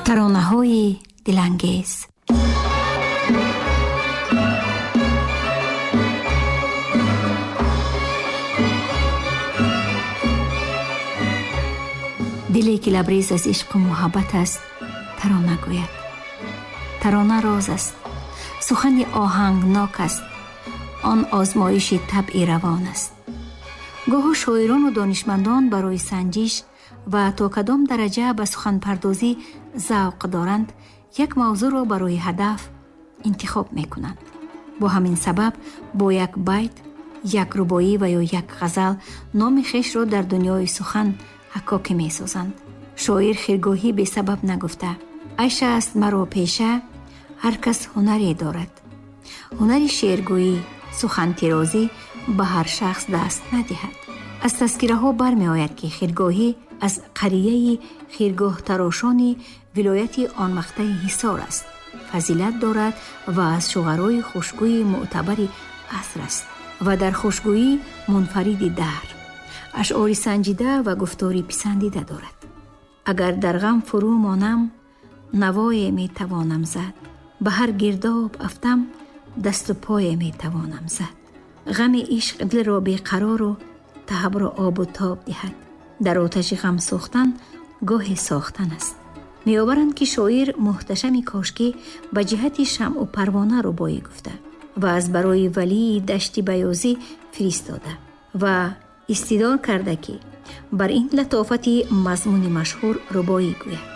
Таронаҳои дилангез. Диле ки лабрез аз ишқу муҳаббат аст, тарона гӯяд. Тарона роз аст, сухани оҳангнок аст, он озмоиши табъи равон аст. Гоҳо шоирону донишмандон барои санҷиш ва то кадом дараҷа ба суханпардозӣ завқ доранд, як мавзӯъро барои ҳадаф интихоб мекунанд. Бо ҳамин сабаб бо як байт, як рубоӣ ва ё як ғазал номи хешро дар дунёи сухан ҳаккокӣ месозанд. Шоир хиргоҳӣ бесабаб нагуфта: айша аст маро пеша, ҳар кас ҳунаре дорад. Ҳунари шеъргӯӣ, сухантирозӣ ба ҳар шахс даст надиҳад. Аз тазкираҳо бармеояд, ки хиргоҳӣ аз қарияи хиргоҳтарошони вилояти онвақтаи Ҳисор аст, фазилат дорад ва аз шуғарои хушгӯи мӯътабари аср аст ва дар хушгӯӣ мунфариди даҳр, ашъори санҷида ва гуфтори писандида дорад. Агар дар ғам фурӯ монам, навое метавонам зад, ба ҳар гирдоб афтам, дасту пое метавонам зад. Ғами ишқ дилро беқарору таҳабро обу тоб диҳад. Дар оташи ғам сӯхтан гоҳе сохтан аст. Меоваранд, ки шоир Муҳташами Кошкӣ ба ҷиҳати шамъу парвона рубоӣ гуфта ва аз барои валии Дашти Баёзӣ фиристода ва истидор карда, ки бар ин латофати мазмуни машҳур рубоӣ гӯяд.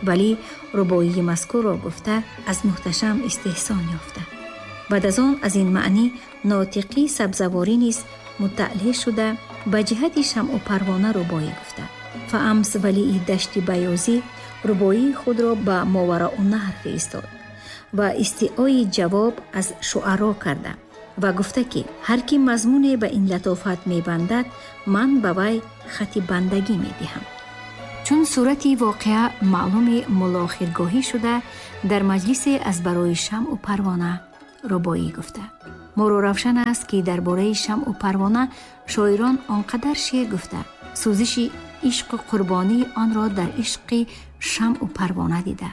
Валӣ рубоии мазкурро гуфта аз Муҳташам истеҳсон ёфта. Баъд аз он аз ин маънӣ нотиқӣ Сабзаворӣ низ муттаълеъ шуда ба ҷиҳати шамъу парвона рубоӣ гуфта. Фаамс валии Дашти Баёзӣ рубоии худро ба Мовароуннаҳр фиристод ва истиои ҷавоб аз шуаро карда ва гуфта, ки ҳар ки мазмуне ба ин латофат мебандад, ман ба вай хати бандагӣ медиҳам. Чун сурати воқеа маълуми мулло Хиргоҳӣ шуда, дар маҷлисе аз барои шамъу парвона рубоӣ гуфта. Моро равшан аст, ки дар бораи шамъу парвона шоирон он қадар шеър гуфта, сӯзиши ишқу қурбонии онро дар ишқи шамъу парвона дида.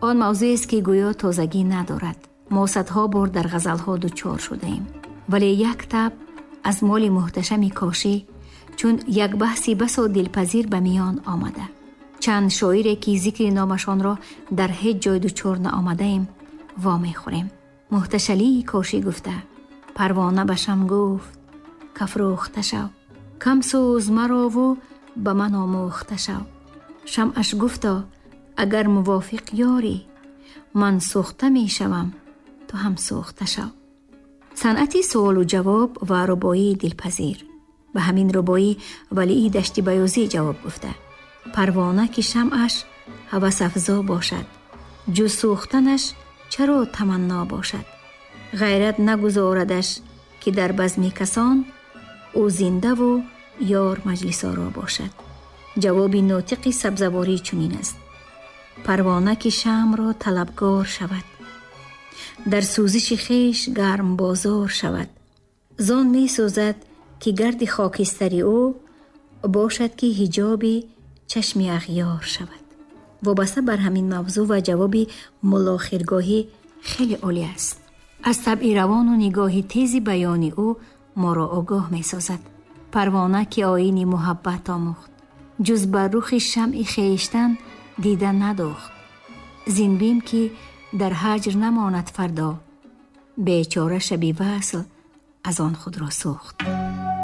Он мавзӯест, ки гӯё тозагӣ надорад. Мо садҳо бор дар ғазалҳо дучор шудаем. Вале як таб аз моли Муҳташами Кошӣ чун як баҳси басо дилпазир ба миён омада. Чанд шоире, ки зикри номашонро дар ҳеҷ ҷой дучор наомадаем, вомехӯрем. Муҳташалии Кошӣ гуфта: парвона ба шам гуфт, кафрӯхта шав, кам сӯз марову ба ман омӯхта шав. Шамъаш гуфто: агар мувофиқ ёрӣ, ман сӯхта мешавам, ту ҳам сӯхта шав. Санъати суолу ҷавоб ва рубоии дилпазир. Ба ҳамин рубоӣ валии Дашти Баёзӣ ҷавоб гуфта: парвона ки шамъаш ҳавасафзо бошад, ҷуз сӯхтанаш чаро таманно бошад? Ғайрат нагузорадаш, ки дар базми касон ӯ зиндаву ёр маҷлисоро бошад. Ҷавоби нотиқи Сабзаворӣ чунин аст: парвона ки шамъро талабгор шавад, дар сӯзиши хеш гарм бозор шавад, зон месӯзад, ки гарди хокистари ӯ бошад, ки ҳиҷоби чашми ағёр шавад. Вобаста бар ҳамин мавзӯъ ва ҷавоби мулло Хиргоҳӣ хеле олӣ аст. Аз табъи равону нигоҳи тези баёни ӯ моро огоҳ месозад. Парвона ки оини муҳаббат омӯхт, ҷуз бар рухи шамъи хештан дида надохт. Зинбим ки дар ҳаҷр намонад фардо, бечора шаби васл аз он худро сӯхт.